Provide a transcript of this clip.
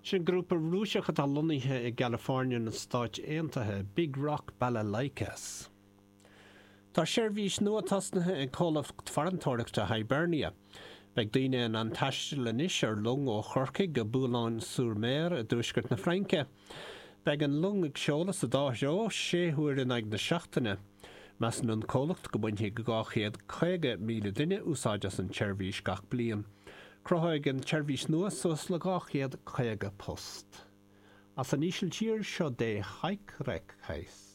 Sin grúpa Rúiseach atá lonnaithe i gCalifornia na Stáit Aontaithe, Big Rock Balalaikas. Tá seirbhís nua tosnaithe ag comhlacht farantóireachta Hibernia. Beidh daoine in ann taisteal anois ar long ó Chorcaigh go Boulogne-sur-Mer i dtuaisceart na Fraince. Beidh an long ag seoladh sa dá threo, sé huaire in aghaidh na seachtaine. Measann an comhlacht go mbainfidh 250,000 duine úsáid as an tseirbhís gach bliain. Cruthóidh an tseirbhís nua suas le 250 post. As an Ísiltír seo De Huikrekhuis.